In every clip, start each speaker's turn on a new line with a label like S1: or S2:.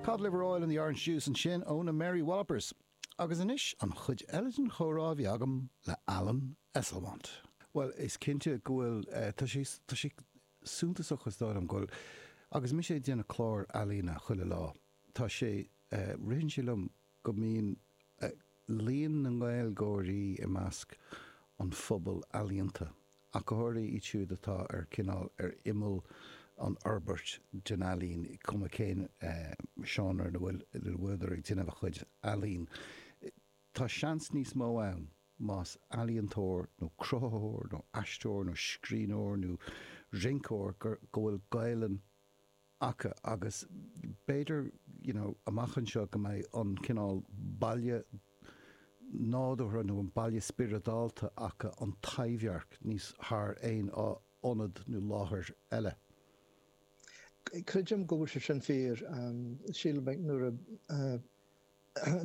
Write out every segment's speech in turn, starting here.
S1: Cod Liver Oil and the Orange Juice ansin ó na Mary Wallopers. Agus anois an chuid eile den chomhrá a bhí agam le Alan Esslemont. Bhuel, is cinnte go bhfuil, tá sé, tá sé suntasach is dóigh liom go bhfuil, agus mise ag déanamh clár ealaíne chuile lá, tá sé, ritheann sé liom go mbíonn líon na nGaeilgeoirí i measc an phobail ealaíonta, ach go háirithe iad siúd atá ar cineál ar imeall an fhorbairt den ealaín, cuma cén seánra ina bhfuil ina bhfuileadar ag déanamh a chuid ealaín. Tá seans níos mó ann más ealaíontóir nó cruthaitheoir nó aisteoir nó scríbhneoir nó rinceoir go bhfuil Gaelainn acu agus b'fhéidir you know amach anseo go mbeidh an cineál baile nádúrtha nó an baile spioradálta acu, an Taibhdhearc, níos thar aon ionad nó láthair eile.
S2: Creidim go bhfuil sé sin fíor. Sílim nuair a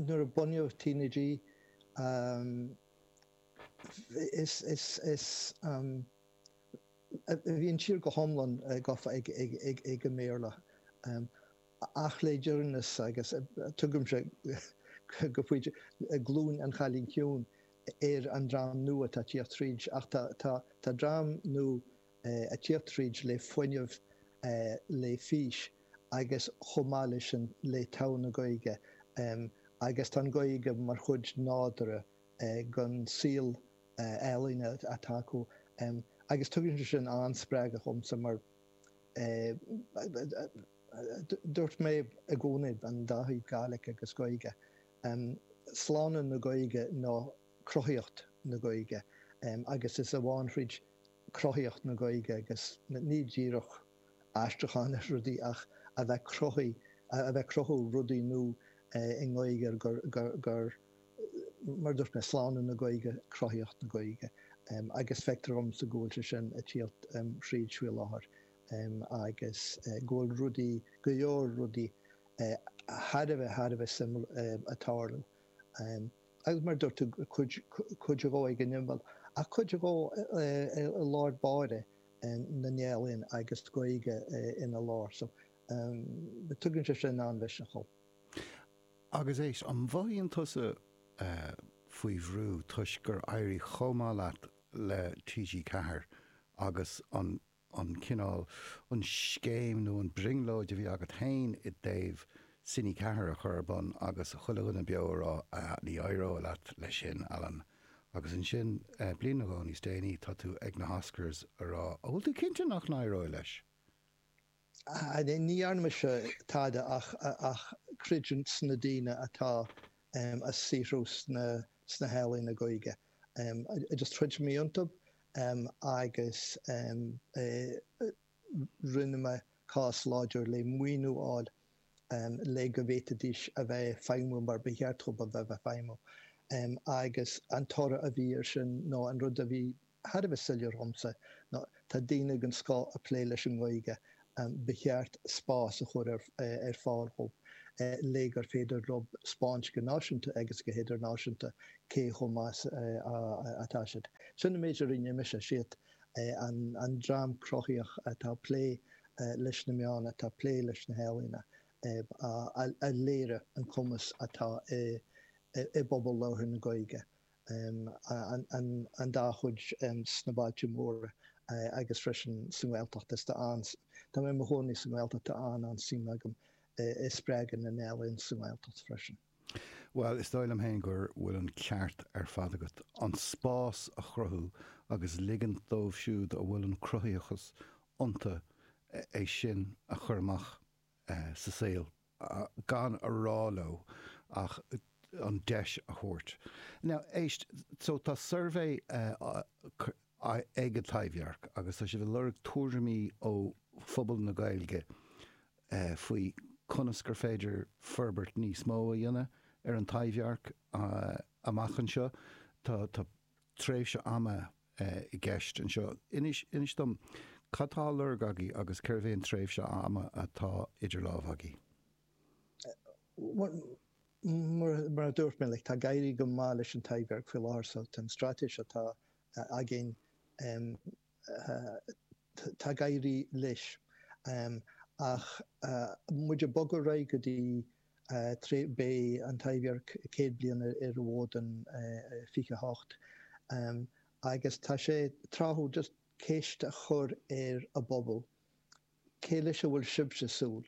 S2: nuair a bunaíodh TnaG is is is Bhí an tír go hiomlán gafa ag an mBéarla. Ach le deireanas, agus tugaimse go pointe glúin an Chailín Ciúin ar an dream nua atá ag tíocht tríd, ach tá dream nua ag tíocht tríd le fuinneamh, le fís agus chomh maith leis sin le togha na Gaeilge agus tá an Ghaeilge mar chuid nádúrtha den saol ealaíne atá acu agus tugann sé sin an-spreagadh dhomsa mar dúirt mé i gcónaí an dá thaobh Gàidhlig agus Gaeilge, slánú na Gaeilge ná cruthaíocht na Gaeilge agus is amháin thríd cruthaíocht na Gaeilge agus ní díreach aistriúchán ar rudaí ach a bheith cruthaí, a bheith cruthú rudaí nua i nGaeilge gur, gur, mar a dúirt mé, slánú na Gaeilge, cruthaíocht na Gaeilge agus feictear dhomsa go bhfuil sé sin ag tíocht thríd faoi láthair agus go bhfuil rudaí, go leor rudaí thar a bheith, thar a bheith suimiúil ag tarlú. Agus mar a dúirt tú, cuid, cuid dhó ag an imeall ach cuid dhó i lár báire na n-ealaíon agus Gaeilge ina lár. So tugann sé sin an-mhisneach dhom.
S1: Agus éist, an mhothaíonn tusa faoi bhrú toisc gur éirigh chomh maith leat le TG4 agus an an cineál, an scéim nó an brionglóid a bhí agat féin i dtaobh Cine 4 a chur ar bun agus chuile dhuine beo a rá ah ní éireoidh leat leis sin, Alan. Agus ansin, bliain nó dhó níos déanaí, tá tú ag na hOscars a rá, an bhfuil tú cinnte nach n-éireoidh leis?
S2: Ní dhearna mise tada ach creidiúint sna daoine atá ag saothrú sna healaíona Gaeilge. Just chreid mé iontu agus rinne mé cás láidir le maoiniú a fháil le go bhféadfaidís a bheith ag feidhmiú mar ba cheart dóibh a bheith ag feidhmiú. Agus an toradh a bhí air sin nó an rud a bhí thar a bheith soiléir dhomsa ná tá daoine den scoth ag plé leis an nGaeilge, ba cheart spás a chur ar fáil dhóibh le gur féidir leo 'spáint go náisiúnta agus go hidirnáisiúnta cé chomh maith atá siad. Sin an méid a rinne mise, siad an dream cruthaíoch atá ag plé leis na meáin, atá ag plé leis na healaíona, a léirigh an cumas atá i bpobal labhartha na Gaeilge. an dá chuid sna bailte móra agus freisin sa nGaeltacht. Is tá an, tá mé i mo chónaí sa nGaeltacht, tá an-an-suim agam i spreagadh na n-ealaíon sa nGaeltacht freisin.
S1: Bhuel, is dóigh liom féin go bhfuil an ceart ar fad agat. An spás a chruthú agus ligint dóibh siúd a bhfuil an cruthaitheachas iontu é sin a chur amach sa saol. gan a rá leo ach an deis a thabhairt. Now, éist, so tá suirbhé ag an Taibhdhearc agus tá sibh ag lorg tuairimí ó phobal na Gaeilge faoi conas gur féidir forbairt níos mó a dhéanamh ar an Taibhdhearc amach anseo. Tá tréimhse ama i gceist anseo. Inis, inis dom, cad tá á lorg agaibh agus cérbh é an tréimhse ama atá idir lámha agaibh?
S2: Bhuel, mar a dúirt mé, like, tá ag éirí go maith leis an Taibhdhearc faoi láthair so tá an straitéis atá againn, tá ag éirí leis. Ach muid ag bogadh ar aghaidh go dtí beidh an Taibhdhearc 100 bliain ar an bhfód in 28 agus tá sé tráthúil just ceist a chur ar an bpobal, cé leis a bhfuil sibhse ag súil?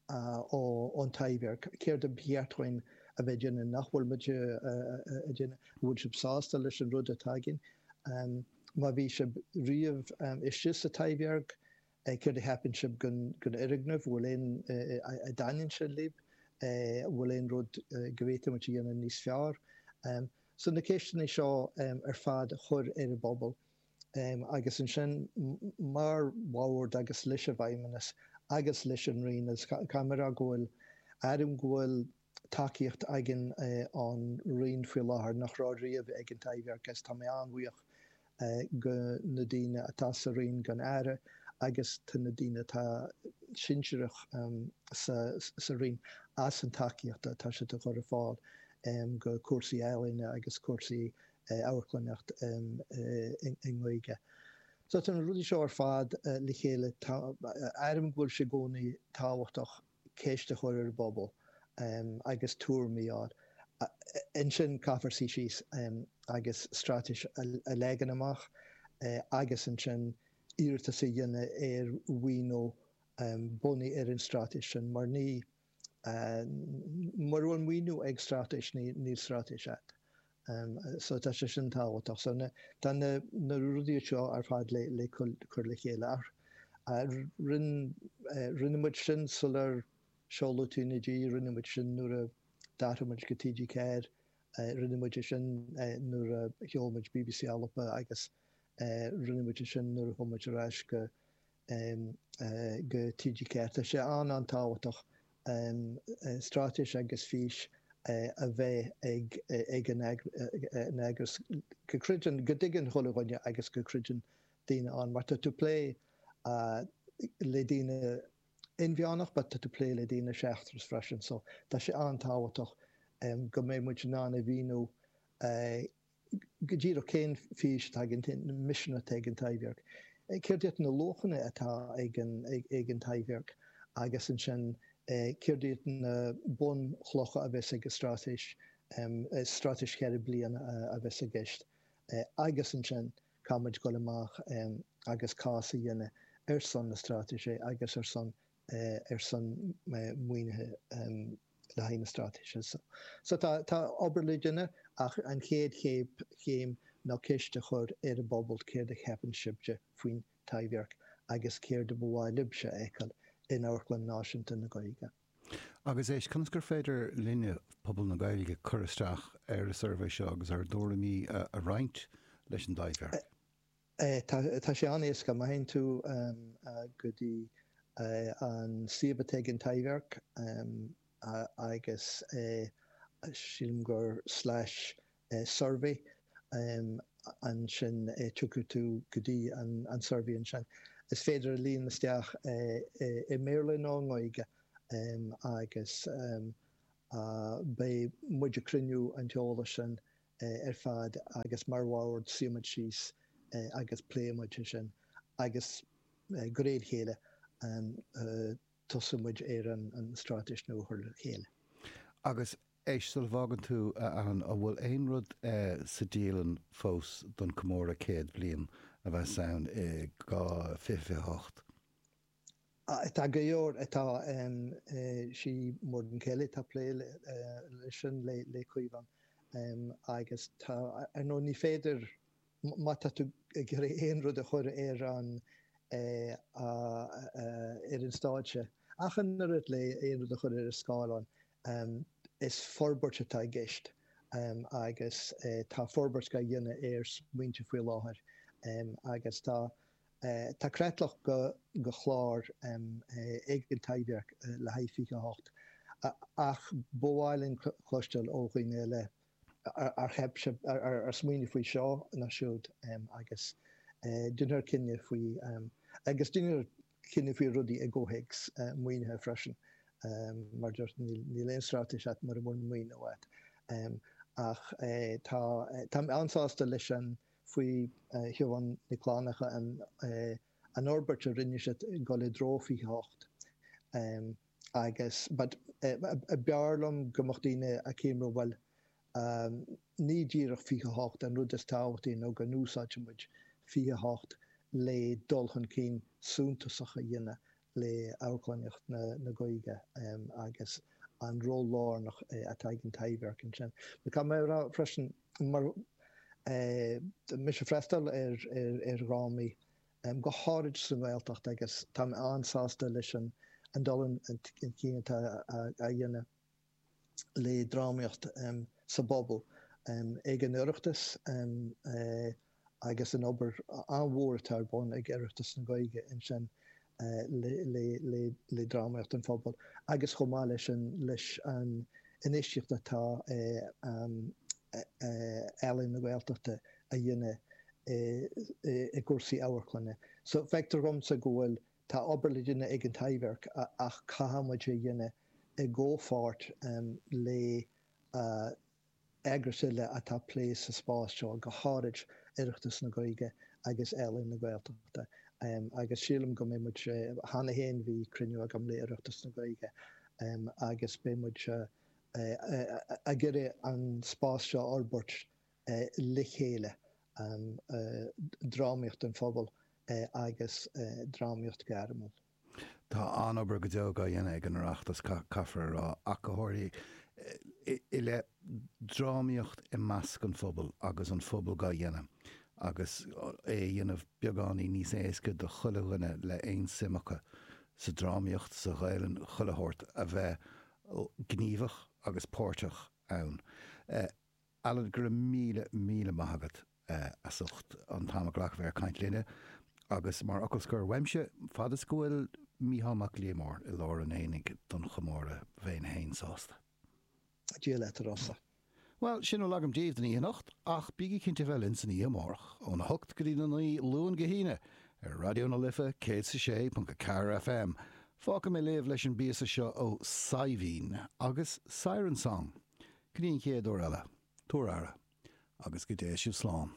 S2: ón Taibhdhearc, céard a ba cheart dhúinn a bheith ag déanamh nach bhfuil muid ag déanamh? An bhfuil sibh sásta leis an rud atá againn? Má bhí sibh riamh istigh sa Taibhdhearc, céard a cheapann sibh den fhoirgneamh? Bhfuil aon, an dtaitníonn sé libh? Bhfuil aon rud go bhféadfadh muid a dhéanamh níos fearr? So na ceisteanna seo ar fad a chur ar an bpobal. Agus ansin, mar bhord agus leis an bhFeidhmeannas agus leis an Roinn, agus caithfidh mé a rá go bhfuil, airím go bhfuil tacaíocht againn ón Roinn faoi láthair nach raibh riamh ag an Taibhdhearc agus tá mé an-bhuíoch go na daoine atá sa Roinn, don Aire agus do na daoine atá sinsearach sa Roinn as an tacaíocht atá siad a chur ar fáil go cúrsaí ealaíne agus cúrsaí amharclannaíocht i nGaeilge. So tá na rudaí seo ar fad le chéile. Airím go bhfuil sé i gcónaí tábhachtach ceist a chur ar an bpobal agus tuairimí a fháil. Ansin caithfear suí síos agus straitéis a leagan amach agus ansin iarratas a dhéanamh ar mhaoiniú bunaithe ar an straitéis sin mar ní Mura bhfuil maoiniú ag straitéis, níl straitéis agat. So tá sé sin tábhachtach. So tá na rudaí seo ar fad le cur le chéile. Ach rinne muid sin sular seoladh TnaG, rinne muid sin nuair a d'athraigh muid go TG4, rinne muid é sin nuair a sheol muid BBC Alba agus rinne muid é sin nuair a chuaigh muid ar ais go go TG4. Tá sé an-an-tábhachtach straitéis agus fís a bheith ag an eagras go gcreideann, go dtuigeann chuile dhuine agus go gcreideann daoine ann. Mar tá tú ag plé le daoine inmheánach but tá tú ag plé le daoine seachtrach freisin so tá sé an-tábhachtach go mbeidh muid in ann a mhíniú go díreach cén fís atá ag an, cén misean atá ag an Taibhdhearc, céard iad na luachanna atá ag an, ag an Taibhdhearc agus ansin céard iad na bunchlocha a bheas ag an straitéis, straitéis cheithre bliana a bheas i gceist agus ansin caithfidh muid dul amach agus cás a dhéanamh ar son na straitéise agus ar son ar son maoinithe le haghaidh na straitéise. So tá tá obair le déanamh ach an chéad chéim ná ceist a chur ar an bpobal céard a cheapann sibhse faoin Taibhdhearc agus céard a ba mhaith libhse a fheiceáil in Amharclann Náisiúnta na Gaeilge.
S1: Agus éist, conas gur féidir linne, pobal na Gaeilge, cur isteach ar an suirbhé seo agus ár dtuairimí a roinnt leis an dTaibhdhearc?
S2: Tá sé an-éasca. Má théann tú go dtí an suíomh atá ag an Taibhdhearc agus sílim gur slash survey ansin tiocfaidh tú go dtí an survey ansin. Is féidir a líon isteach i mBéarla nó i nGaeilge agus beidh muid ag cruinniú an t-eolas sin ar fad agus mar bhord suífidh muid síos agus pléifidh muid é sin agus de réir a chéile tosóidh muid ar an straitéis nua a chur le chéile.
S1: Agus éist, sula bhfágann tú, a Alan, an bhfuil aon rud sa dialann fós don comóradh 100 bliain a bheas ann i 2028?
S2: Tá go leor, tá sí Muireann Kelly atá ag plé leis sin le Caomhán agus tá, ar ndóigh ní féidir, má tá tú ag iarraidh aon rud a chur ar an ar an stáitse, ach an oiread le aon rud a chur ar an scáileán, is forbairt atá i gceist agus tá forbairt á dhéanamh ar smaointe faoi láthair agus tá Tá creatlach de chlár ag an Taibhdhearc le haghaidh 28 ach ba mhaith linn cloisteáil ó dhaoine eile ar cheap sibh, ar smaoinigh faoi seo nó siúd agus déanfar cinneadh faoi agus déanfar cinneadh faoi rudaí i gcomhthéacs maoinithe freisin. Mar a dúirt, níl aon straitéis agat mura bhfuil maoiniú agat. Ach tá, táim an-sásta leis an faoi Shiobhán Nic Fhlannchadha an an fhorbairt a rinne siad ag dul i dtreo 28 agus but b'fhearr liom go mbeadh daoine ag cuimhneamh bhuel ní díreach 28 an rud is tábhachtaí nó go n-úsáidfidh muid 28 le dul chun cinn suntasach a dhéanamh le amharclannaíocht na Gaeilge agus an ról lárnach atá ag an Taibhdhearc ansin. Caithfidh mé a rá freisin, mar mise ag freastal ar dhrámaí, go háirid sa nGaeltacht agus tá mé an-sásta leis an dul chun cinn atá á dhéanamh. le drámaíocht sa bpobal ag an Oireachtas agus an obair an-mhór atá ar bun ag Oireachtas na Gaeilge ansin le drámaíocht an phobail agus chomh maith leis an leis an infheistíocht atá Ealaín na Gaeltachta a dhéanamh i gcúrsaí amharclainne. So feictear dhomsa go bhfuil Tá obair le déanamh ag an Taibhdhearc ach caithfidh muid é a dhéanamh i gcomhpháirt le eagrais eile atá ag plé sa spás seo, go háirid Oireachtas na Gaeilge agus Ealaín na Gaeltachta. Agus sílim go mbeidh muid, cheana féin bhí cruinniú agam le Oireachtas na Gaeilge agus beidh muid ag iarraidh an spás seo a fhorbairt le chéile, drámaíocht don phobal agus drámaíocht ghairmiúil.
S1: Tá an-obair go deo á dhéanamh ag an Oireachtas, caithfear a rá, ach go háirithe i leith drámaíocht i measc an phobail agus an phobal dhá dhéanamh agus é a dhéanamh beagáinín níos éasca do chuile dhuine le aon suim acu sa drámaíocht, sa Ghaelainn, chuile shórt, a bheith gníomhach agus páirteach ann. Alan, go raibh míle, míle maith agat as ucht an t-am a ghlacadh bheith ag caint linne. Agus mar fhocal scoir uaimse, fad is go bhfuil Mícheál Mac Liammóir i lár an aonaigh don chomóradh, bheinn fhéin sásta.
S2: Dia leat, a Rossa.
S1: Bhuel, sin a bhfuil agam daoibh don oíche anocht, ach bígí cinnte bheith linn san oíche amárach, óna hocht go dtí na naoi, Luan go hAoine, ar Raidió na Life 106.4 FM. Fágfaidh mé libh leis an bpíosa seo ó Saidhbhín agus Siren Song. Go dtí an chéad uair eile, tabhair aire, agus go dté sibh slán.